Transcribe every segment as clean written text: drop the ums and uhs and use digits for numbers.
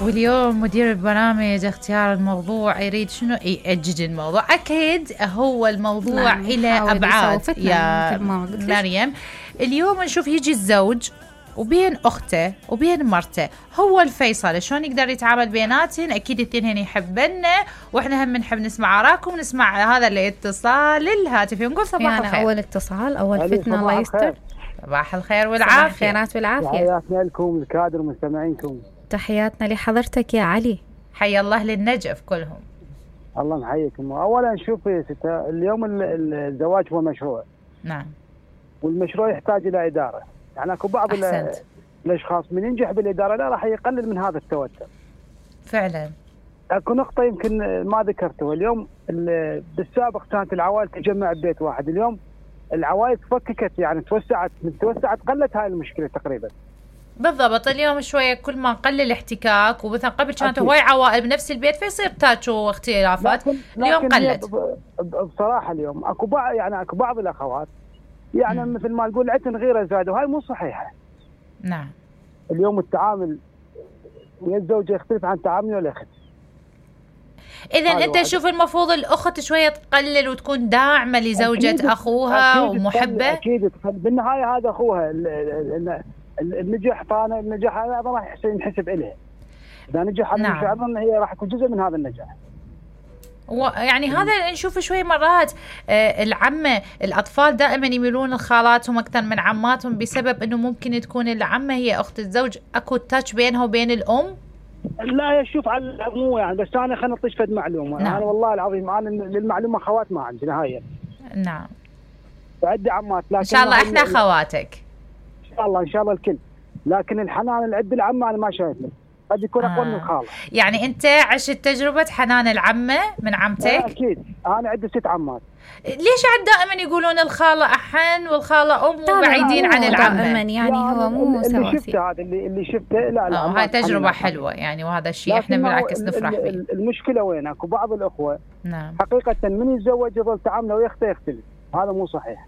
واليوم مدير البرامج اختيار الموضوع يريد شنو يأجج الموضوع. أكيد هو الموضوع إلى أبعاد يا مريم. اليوم نشوف يجي الزوج وبين أخته وبين مرته هو الفيصل، شلون يقدر يتعامل بيناتهم. أكيد الاثنين يحبنا وإحنا هم نحب نسمع آراءكم ونسمع هذا الاتصال الهاتفي ونقول صباح الخير. أول اتصال أول فتنة الله يستر. صباح الخير والعافية. الخيرات والعافية. تحياتنا لكم الكادر ومستمعينكم. تحياتنا لحضرتك يا علي. حي الله للنجف كلهم. الله محييكم. أولا شوفي ستة، اليوم الزواج هو مشروع. نعم. والمشروع يحتاج إلى إدارة. يعني أكو بعض الأشخاص من ينجح بالإدارة لا راح يقلل من هذا التوتر. فعلا. أكو نقطة يمكن ما ذكرتها اليوم. بالسابق كانت العوائل تجمع ببيت واحد، اليوم العوائل تفككت، يعني توسعت قلت هاي المشكلة تقريبا. بالضبط. اليوم شوية كل ما قل الاحتكاك، ومثلا قبل كانت هواي عوائل بنفس البيت فيصير تاتشو واختلافات. اليوم قلت بصراحة. اليوم اكو بعض الاخوات يعني مثل ما نقول عتن غيره زاد، وهاي مو صحيحة. نعم. اليوم التعامل ويا الزوجة يختلف عن تعامل الأخت. إذا أنت شوف المفروض الأخت شوية تقلل وتكون داعمة لزوجة أخوها ومحبة. أكيد بالنهاية هذا أخوها. النجاح طانا النجاح هذا راح ينحسب إلها. إذا نجح هذا النجاح أظن هي راح يكون جزء من هذا النجاح. يعني هذا نشوف شوي مرات العمة الأطفال دائما يميلون لخالاتهم أكثر من عماتهم بسبب أنه ممكن تكون العمة هي أخت الزوج، أكو تاتش بينها وبين الأم. لا شوف على العموم يعني، بس أنا خلنا نطيش فد معلومة. نعم. أنا والله العظيم أنا للمعلومة خوات ما عندي نهاية. نعم. وعندي عمات لكن إن شاء الله إحنا خواتك. إن شاء الله الكل، لكن الحنان اللي عند العمة أنا ما شايفه، قد يكون أقوى من الخالة. يعني أنت عشت تجربة حنان العمة من عمتك؟ أكيد. أنا عندي 6 عمات. ليش عاد دائما يقولون الخالة أحن والخالة أم وبعيدين عن العمة؟ دائما يعني هو مو سواسي. اللي شفته هذا اللي شفته لا هاي تجربة حلوة يعني، وهذا الشيء احنا بالعكس نفرح فيه. المشكلة وين؟ اكو بعض الأخوة نعم حقيقة من يتزوج يظل تعامله ويخته يختلف، هذا مو صحيح.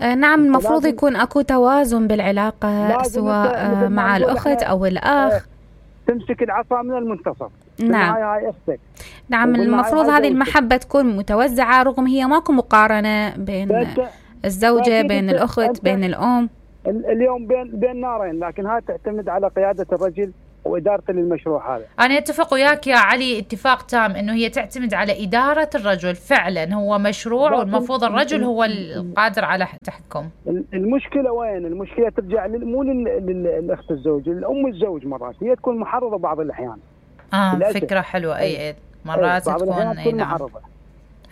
نعم. المفروض يكون اكو توازن بالعلاقة سواء مع الأخت أو الأخ. تمسك العصا من المنتصف. نعم. هاي أختك. نعم. المفروض هذه المحبة تكون متوزعة، رغم هي ماكو مقارنة بين الزوجة بين الأخت بين الأم. اليوم بين نارين، لكن هاي تعتمد على قيادة الرجل وإدارته للمشروع هذا. أنا أتفق وياك يا علي اتفاق تام إنه هي تعتمد على إدارة الرجل. فعلا هو مشروع والمفروض الرجل هو القادر على تحكم. المشكلة وين؟ المشكلة ترجع مو للأخت الزوج، الأم الزوج مرات هي تكون محرضة بعض الأحيان. فكرة حلوة. أي مرات تكون محرضة.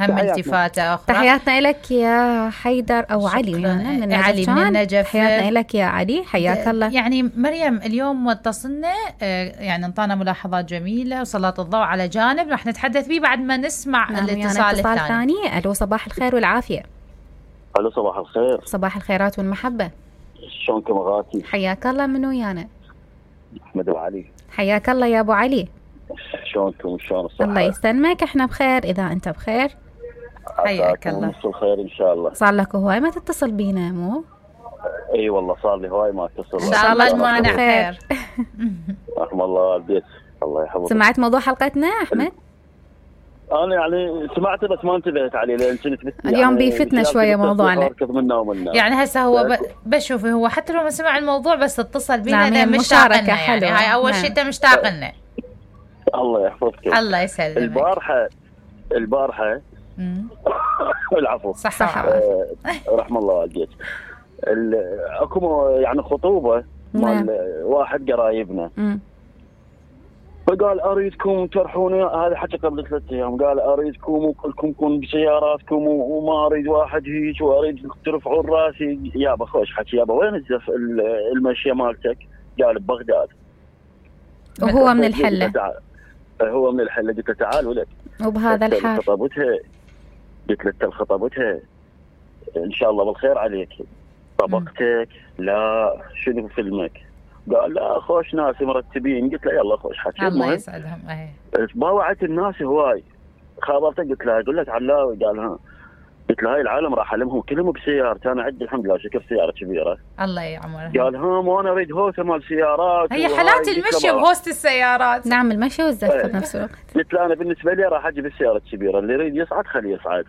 هم التفاتة أخرى. تحياتنا لك يا حيدر أو علي من علي من النجف. تحياتنا لك يا علي، حياك الله. يعني مريم اليوم اتصلنا يعني انطانا ملاحظات جميلة وسلط الضوء على جانب راح نتحدث به بعد ما نسمع الاتصال الثاني. ألو صباح الخير والعافية. ألو صباح الخير. صباح الخيرات والمحبة. شلونكم أغاتي؟ حياك الله. من ويانا؟ أحمد وعلي. حياك الله يا أبو علي. شلونكم؟ شلون الصحة؟ الله يسلمك، احنا بخير إذا أنت بخير. حياك الله. نص الخير إن شاء الله. صار لك هواي ما تتصل بينا مو؟ اي والله صار لي هواي ما اتصل. ان شاء الله المانع خير. رحم الله البيت الله يحفظك. سمعت موضوع حلقتنا احمد؟ انا يعني سمعته بس ما انتبهت عليه لان كنت اليوم يعني بيفتنا شويه موضوعنا. يعني هسه هو بشوف هو حتى لو ما سمع الموضوع بس اتصل بينا. نعم مشتاق لنا يعني هاي اول شيء انت مشتاق لنا. الله يحفظك. الله يسلمك. البارحه العفو. صح. رحم الله والديك. اكو يعني خطوبه مال واحد قرايبنا. فقال اريدكم ترحوني، هذا حكى قبل 3 ايام، قال اريدكم وكلكم كون بسياراتكم وما اريد واحد هيك واريد ترفعون راسي. يابا خوش حكي، يابا وين المشيه مالتك؟ قال ببغداد. وهو من الحله. هو من الحله. قلت له تعال ولد. وبهذا الحال قلت له خطبتها ان شاء الله بالخير عليك. طبقتك لا شنو فيلمك؟ قال لا خوش ناس مرتبين. قلت له يلا خوش حكي. الله يسعدهم. باوعت الناس هواي. خابرته قلت له اقول لك علاوي. قال ها. قلت له هاي العالم راح ألمهم كلهم بسيارتي، أنا عندي الحمد لله شكر سيارة كبيرة. الله يعمره. قال وأنا أريد هوسة مال سيارات. هي حالات المشي بهوسة السيارات. نعم المشي والزفة بنفس الوقت. قلت له أنا بالنسبة لي راح أجيب السيارة الكبيرة، اللي يريد يصعد خليه يصعد.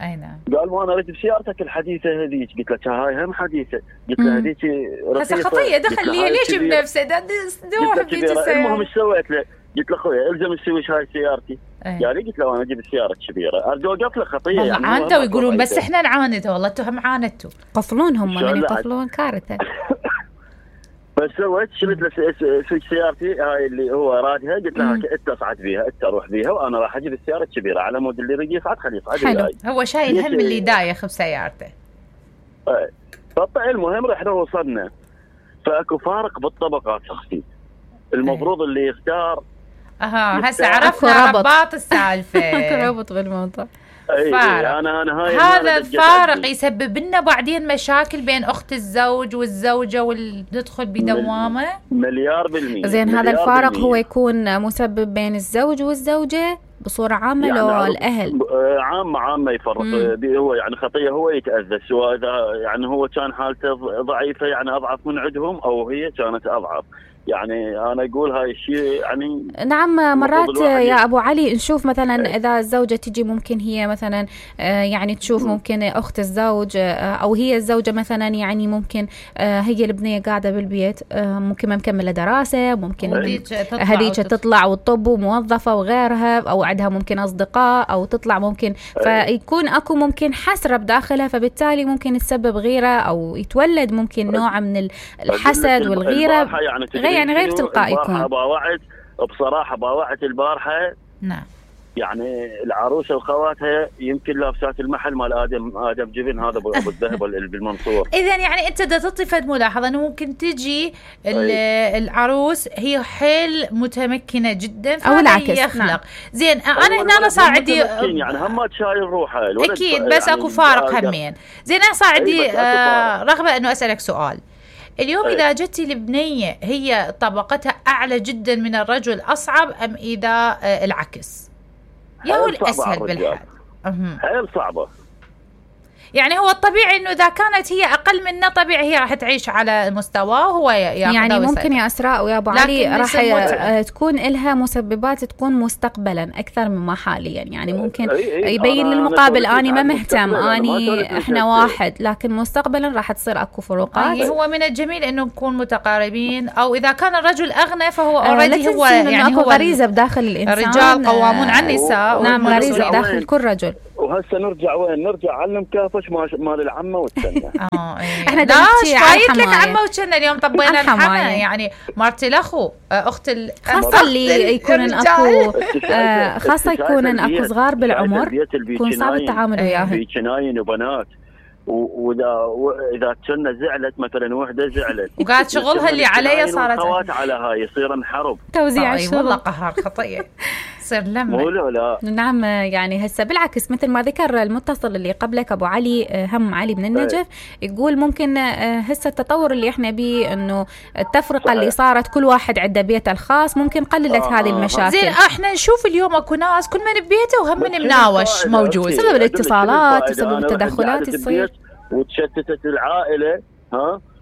أي نعم. قال وأنا أريد بسيارتك الحديثة هذيك. قلت له هاي هم حديثة. قلت له هذيك رخيصة. هسه خطية دخل لي ليش بنفسه دوح بيت السيارة. المهم ايش سويت له؟ قلت له أخويا الزم السويش هاي سيارتي. قال لي قلت له أنا أجيب السيارة الكبيرة. أرجو وقف له خطية يعني. عاندوا ويقولون بس إحنا نعاند، والله أنتم عاندتوا. قفلونهم من يقفلون كارثة. بس سويت شلت له سويش سيارتي هاي اللي هو رادها. قلت له أنت اصعد بيها، أنت روح بيها، وأنا راح أجيب السيارة الكبيرة على مود اللي يريد يصعد خليه يصعد. حلو. هو شايل هم اللي دايخ بسيارته. المهم رحنا وصلنا، فاكو فارق بالطبقات اختي. المفروض اللي يختار هسه عرفنا رباط السالفه. ربط بالموضوع. أنا هذا الفارق يسبب لنا بعدين مشاكل بين اخت الزوج والزوجه وندخل بدوامه. مليار بالمية. زين هذا الفارق هو يكون مسبب بين الزوج والزوجه بصورة عامة يعني لو الأهل؟ عامة يفرق. هو يعني خطية هو يتأذى، سواء إذا يعني هو كان حالته ضعيفة يعني أضعف من عندهم، أو هي كانت أضعف. يعني أنا أقول هاي الشيء يعني. نعم مرات يا أبو علي نشوف مثلا إذا الزوجة تجي ممكن هي مثلا يعني تشوف ممكن أخت الزوج أو هي الزوجة مثلا يعني ممكن هي البنية قاعدة بالبيت ممكن ما مكملة دراسة، ممكن هذيك تطلع وتطب وموظفة وغيرها، أو عندها ممكن أصدقاء أو تطلع ممكن، فيكون أكو ممكن حسرة بداخلها، فبالتالي ممكن تسبب غيرة أو يتولد ممكن نوع من الحسد والغيرة. يعني غير تلقائي يكون. بصراحة باوعت البارحة. نعم. يعني العروسة وخواتها يمكن لابسات المحل مال آدم جبن هذا أبو الذهب بالمنصور. إذن يعني أنت دا تطفد ملاحظة أنه ممكن تجي العروس هي حيل متمكنة جدا أو العكس يخلق. نعم. زين أنا هنا صار عندي يعني هم تشايل روحها أكيد، بس يعني أكو فارق همين. زين أنا صار عندي رغبة أنه أسألك سؤال. اليوم إذا جت البنية هي طبقتها أعلى جدا من الرجل أصعب أم إذا العكس؟ يا هو الأسهل بالحال؟ حيل صعبة. يعني هو الطبيعي انه اذا كانت هي اقل منه طبيعي هي راح تعيش على مستواه هو يعني ممكن يا اسراء ويا ابو علي راح تكون لها مسببات تكون مستقبلا اكثر مما حاليا. يعني ممكن يبين للمقابل اني ما مهتم اني احنا واحد، لكن مستقبلا راح تصير اكو فروقات. هو من الجميل انه نكون متقاربين، او اذا كان الرجل اغنى فهو اوريدي هو يعني هو غريزه بداخل الانسان. الرجال قوامون على النساء. نعم غريزه بداخل كل رجل. وهسه نرجع وين؟ نرجع علم كافش مال العمه والسنه. احنا دايش فايت لك عمه وسنه اليوم طبينا الحمى. يعني مرت الاخو اخت خاصه اللي يكون اكو خاصه يكون اكو صغار بالعمر يكون صعب التعامل وياهم. في جناين وبنات، واذا كنا زعلت مثلا وحده زعلت وقاعد شغلها اللي عليها صارت خوات على هاي يصير نحرب توزيع الشغل. والله قهر خطيه صير لما لا. نعم يعني هسه بالعكس مثل ما ذكر المتصل اللي قبلك ابو علي هم علي من النجف يقول ممكن هسه التطور اللي احنا بيه انه التفرقه اللي صارت كل واحد عنده بيته الخاص ممكن قللت هذه المشاكل. زين احنا نشوف اليوم اكو ناس كل من ببيته وهم من مناوش موجود بسبب الاتصالات بسبب التدخلات تصير وتشتتت العائله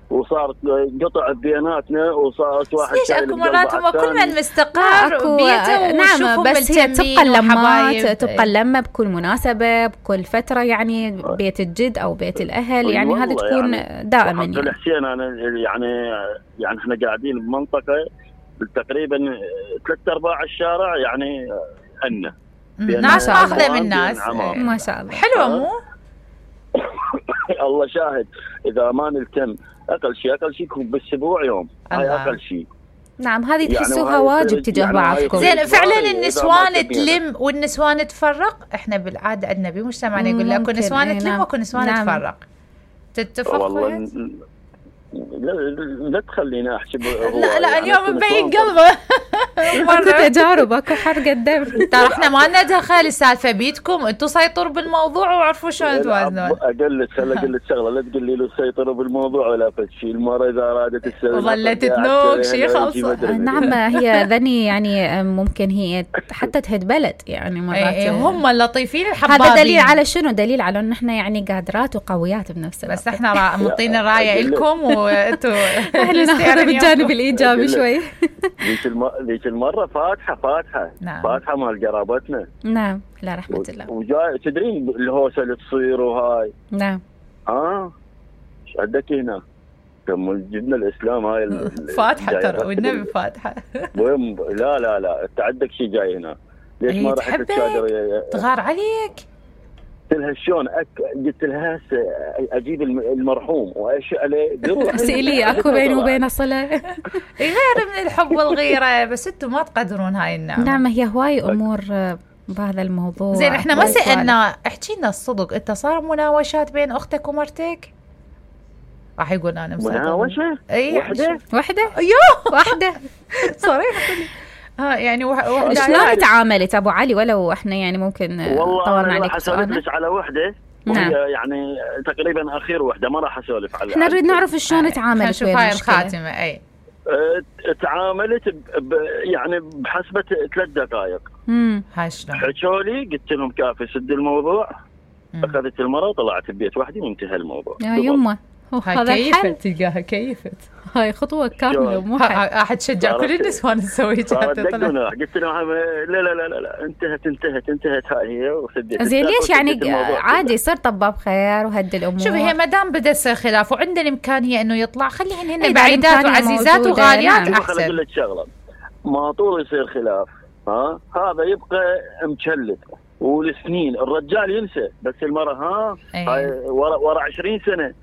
وصارت قطع بيناتنا وصارت واحد ليش اكو مرات هم كل من مستقر بيته. نعم بس هي تبقى اللمات تبقى اللمه بكل مناسبه بكل فتره، يعني بيت الجد او بيت الاهل يعني هذا تكون يعني دائما. يعني حسين انا يعني احنا قاعدين بمنطقه تقريبا 3/4 الشارع يعني عندنا ناس ماخذه من الناس ما شاء الله حلوه مو الله شاهد. اذا ما نلتم اقل شيء يكون بالاسبوع يوم هاي اقل شيء. نعم هذه تحسوها يعني واجب تجاه يعني بعضكم. زين فعلا النسوان تلم والنسوان تفرق. احنا بالعاده عندنا بمجتمعنا يقول لك نسوان تلم وكل نسوان تفرق. تتفق والله لا تخلينا احسب. لا اليوم مبين قلبه اكو تجارب، اكو حرق الدم. ترى احنا ما لنا دخل، السالفه بيدكم انتم، سيطروا بالموضوع وعرفوا شلون توازنون. اقول لك شغله، لا تقول لي له سيطروا بالموضوع ولا شيء. المره اذا ارادت تسوي وظلت تنوك شيء خلصه. نعم، هي ذني يعني ممكن هي حتى تهد بلد يعني مرات. هم اللطيفين الحبابين. هذا دليل على شنو؟ دليل على ان احنا يعني قادرات وقويات بنفس الوقت. بس احنا منطين الرايه لكم وانتم احنا ناخذ بالجانب الايجابي شوي. ذيك المره فاتحه نعم. فاتحه مال قرابتنا. نعم، لا رحمه الله. وجاي تدرين الهوسه اللي تصير وهاي. نعم. ايش عندك هنا؟ كم جبنا الاسلام هاي فاتحه ترى، والنبي فاتحه. لا انت عندك شيء جاي هنا، ليش ما رحت تشادر؟ تغار عليك. قلت لها شلون؟ قلت لها هسه اجيب المرحوم وايش عليه؟ سئلي اكو بيني وبينه صله. غير من الحب والغيره، بس انتم ما تقدرون هاي النعمه. نعم، هي هواي امور بهذا الموضوع. زين احنا ما سالنا، احكي لنا الصدق، انت صار مناوشات بين اختك ومرتك؟ راح يقول انا مناوشه؟ اي وحده ايوه واحده صريحه. يعني شلون تعاملت ابو علي؟ ولو احنا يعني ممكن طورنا عليك سؤال. والله على وحده. نعم. يعني تقريبا اخير وحده، ما راح اسولف على. احنا نريد نعرف شلون تعاملت ويا هاي الخاتمه. اي تعاملت يعني بحسبه 3 دقائق. هاي شلون؟ حكوا لي، قلت لهم كافي، سد الموضوع. اخذت المرة وطلعت ببيت وحدي وانتهى الموضوع. يا يمه هذا كيفت، تلقاها كيفت. هاي خطوه كامله مو احد شجع كل النسوان تسوي قلت لهم لا انتهت هاي هي وسديت. زين ليش يعني عادي يصير طباب خير وهد الامور. شوفي هي ما دام بدا يصير خلاف وعندنا الامكانيه انه يطلع، خليهن هن بعيدات وعزيزات وغاليات احسن. خليني اقول لك شغله، ما طول يصير خلاف هذا يبقى مشلت والسنين. الرجال ينسى، بس المرأة هاي ورا 20 سنة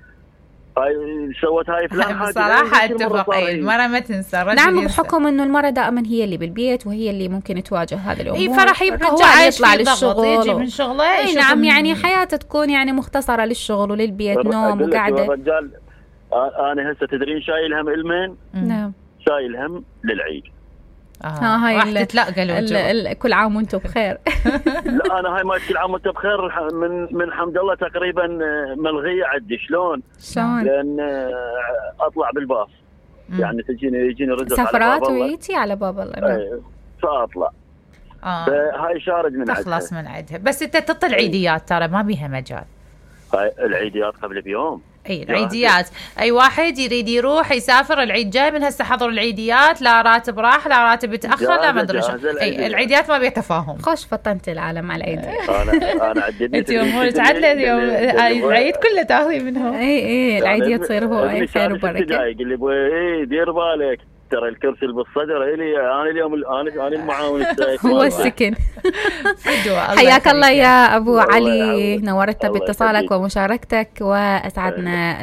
هاي سوت هاي فلان حاجة. بصراحة اتفق، المرأة ما تنسى، الرجل نعم، بحكم انه المرأة دائما هي اللي بالبيت وهي اللي ممكن تواجه هذه الامور. اي فرح يبقى هو يطلع للشغل، يجي من شغله. نعم، يعني حياته تكون يعني مختصرة للشغل وللبيت، نوم وقعدة. الرجال انا هسه تدرين شايل هم المين؟ نعم، شايل هم للعيد. هاي راح تتلقى الوجوه. كل عام وانتم بخير. لا انا هاي ما كل عام وانتم بخير من حمد الله تقريبا ملغيه عندي. شلون؟ لان اطلع بالباص، يعني يجيني رزق سفرات ويتي على باب الله. فاطلع هاي شارج من عندها، تخلص من عندها. بس انت تطل عيديات ترى ما بيها مجال. هاي العيديات قبل بيوم. اي العيديات، اي واحد يريد يروح يسافر العيد جاي من هسه حضر العيديات، لا راتب راح لا راتب اتاخر لا ما ادري شو. اي العيديات ما بيتفاهم. خوش فطنت العالم على العيد. انا عديتني انت يوم تعدل يوم العيد كله تاخذي منهم. اي العيديه تصير هو اي خير وبركه. يقول لي دير بالك ترى الكرسي اللي بالصدر الي انا اليوم انا المعاون السايق هو السكن. حياك الله يا ابو علي، نورتنا باتصالك ومشاركتك واسعدنا